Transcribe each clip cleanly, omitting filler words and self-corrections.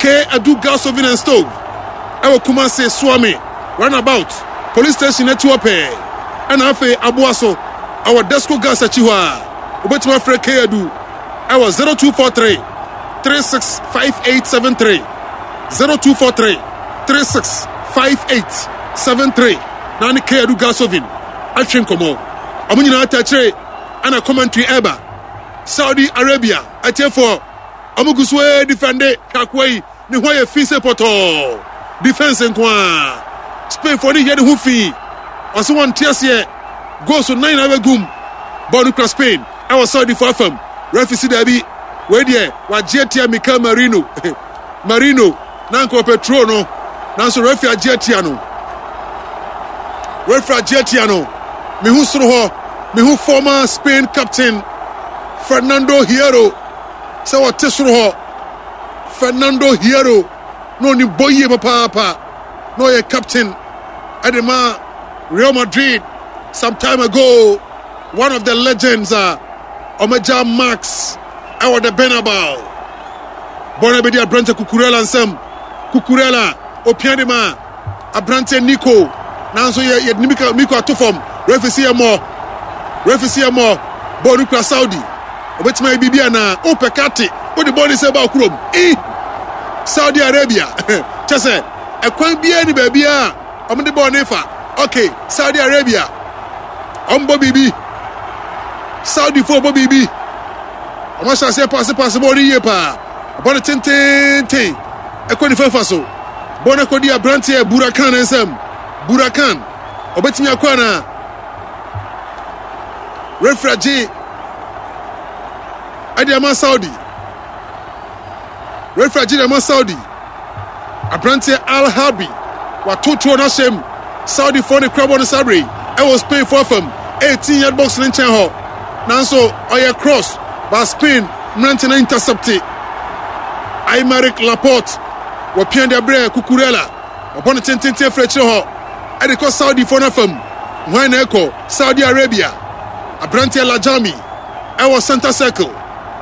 K Adu Gas Oven and Stove ɛwɔ Kumasi Suame Runabout Police Station akyi hɔ pɛɛ ɛna afei Aboa so ɛwɔ Desco Gas akyi hɔ a wobɛtumi afrɛ K Adu ɛwɔ 0243 365873 0243 365873 na ne K Adu Gas Oven atwe nkɔmmɔ. Ɔmo nyinaa tɛkyere ɛna commentary ɛba Saudi Arabia atiefoɔ. Ɔmo gu so ara defende hwɛ akoa yi ne ho ayɛ fi sɛ pɔtɔɔ defense nko ara Spain foɔ ne yɛ ne ho fi ɔse wɔn te aseɛ goals nan na abɛgum bɔɔl no kura Spain ɛwɔ Saudi foɔ afam referee si daabi wei deɛ wagye atia Mikel Merino Merino na nka ɔpɛ turo no nanso referee agye atia no referee agye atia no mehu soro hɔ mehu former Spain captain Fernando Hierro sɛ ɔte soro hɔ. Fernando Hierro na ɔnim bɔ yie papaapa na ɔyɛ captain ɛde ma Real Madrid some time ago, one of the legends a ɔmagya Max ɛwɔ the Bernabeu. Bɔɔl no bɛdi aberante Cucurella nsam. Cucurella opia de ma Aberanteɛ Nico nanso yɛ yɛde ne Mika Miko ato fam. Refi si yɛ mmɔ. Refi si yɛ mmɔ. Bɔɔl no kura Saudi. Obetumi ayɛ biribi anaa? Wopɛ kate. Wode bɔɔl no sɛ ba kurom. I Saudi Arabia. Kyɛ sɛ ɛkwan biara ni baabiara a wɔde bɔɔl no fa. Okay, Saudi Arabia. Wɔn bɔ biribi. Saudi fo bɔ biribi. Wɔn ahyɛ aseɛ paase paase bɔɔl no yie paa. Bɔɔl no tententen. Ɛkɔ nifa fa so. Bɔ no kɔdi aberanteɛ Burakan ne nsam. Burakan, ɔbɛtumi akɔ anaa? Refra gye ɛde ama Saudi. Refra gye de ama Saudi. Aberanteɛ Al Harbi wato tuo no ahyɛ mu. Saudifoɔ ne kura bɔ no saa bere ɛwɔ Spainfoɔ afam 18 yard box no nkyɛn hɔ. Nanso ɔyɛ cross ba Spain mmerante no intercepte. Aymeric Laporte Wɔpia de abrɛ Cucurella. Ɔbɔ no tententen afiri akyire hɔ de kɔ Saudifoɔ no afam. Hwan na ɛkɔ? Saudi Arabia aberanteɛ Lajami ɛwɔ center circle.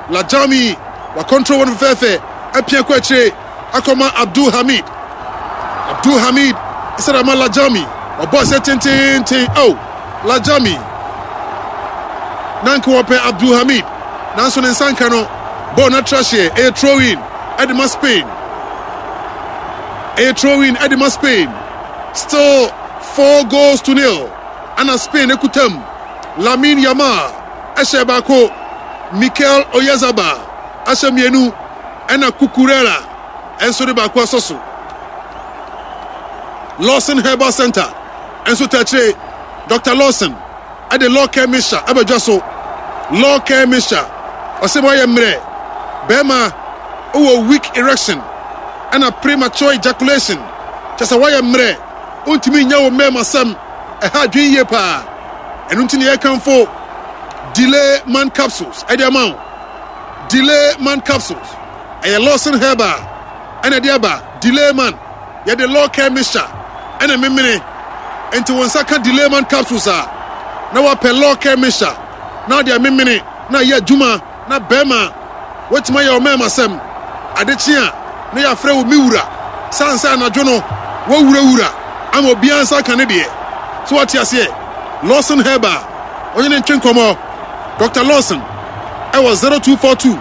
Lajami wakɔntrol wɔn fɛfɛɛfɛ apia kɔ akyire akɔma Abdul Hamid. Abdul Hamid sɛde ama Lajami. Ɔbɔ sɛ tententen. Oh, Lajami. Na nka wɔpɛ Abdul Hamid nanso ne nsa nka no. Bɔɔl no atra hyeɛ. Ɛyɛ throw in. Ɛde ma Spain. Ɛyɛ throw-in ɛde ma Spain. Still 4 goals to 0. Ana Spain ekutam. Lamine Yamal ɛhyɛ baako. Mikel Oyarzabal ahyɛ mmienu. Ɛna Cucurella ɛnso de baako asɔ so. Lawson Herbal Center ɛnso tɛkyerɛ Dr. Lawson ɛde Law Care Mixture abɛdwa so. Law Care Mixture, ɔsɛ wɔayɛ mmerɛ, bɛrima wowɔ weak erection ɛna premature ejaculation, kyɛ sɛ wɔayɛ mmerɛ, wontumi nyɛ wo mmarima sɛm, ɛha adwene yie paa. Ɛno nti na yɛkamfo Delay Man Capsules ɛde ama wo. Delay Man Capsules ɛyɛ Lawson Herbal ɛna ɛde aba. Delay Man Yɛde Law Care Mixture na ɛmemene, enti wo nsa ka Delayman capsules a, na woapɛ Law Care Mixture na wode amemene na ayɛ adwuma na bɛrima woatumi ayɛ wo mɛɛmasɛm. Ade kye a, na yɛafrɛ wo me wura, sane sɛ anadwo no woawurawura ama obiara nsa aka ne deɛ. So woate aseɛ? Lawson Herbal, wo ne no ntwe nkɔmmɔ. Dɔkta Lawson ɛwɔ 0242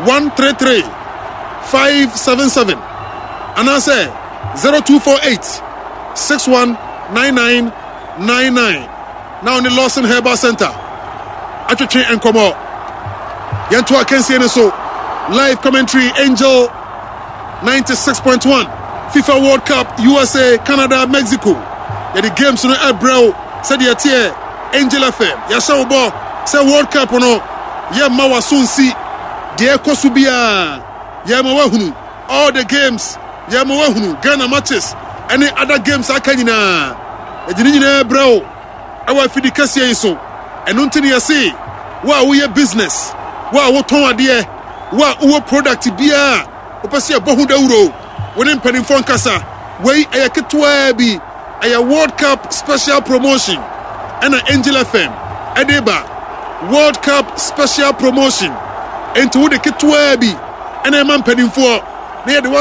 133 577. Anaasɛ 0248 6199 99 na ɔne Lawson Herbal Center atwetwe nkɔmmɔ. Yɛnto akansie no so. Live commentary Angel 96.1 FIFA World Cup USA, Canada, Mexico. Yɛde games no ɛbrɛ wo sɛdeɛ ɛteɛ Angel FM. Yɛahyɛ wo bɔ sɛ World Cup no yɛmma w'aso nsi deɛ ɛkɔ so biara. Yɛma woahunu all the games, yɛma woahunu Ghana matches ɛne other games aka nyinaa. Yɛde ne nyinaa brɛ wo ɛwɔ afidi kɛseɛ yi so. Ɛno nti ne yɛse wo a woyɛ business, wo a wotɔn adeɛ, wo a wowɔ product biara a wopɛ sɛ yɛbɔ ho dawuro, wo ne mpanimfoɔ nkasa. Wei ɛyɛ ketewaa bi, ɛyɛ World Cup special promotion ɛna Angel FM ɛde ba. World Cup special promotion. Enti wode ketewaa bi ɛna ɛma mpanimfoɔ na yɛde wɔ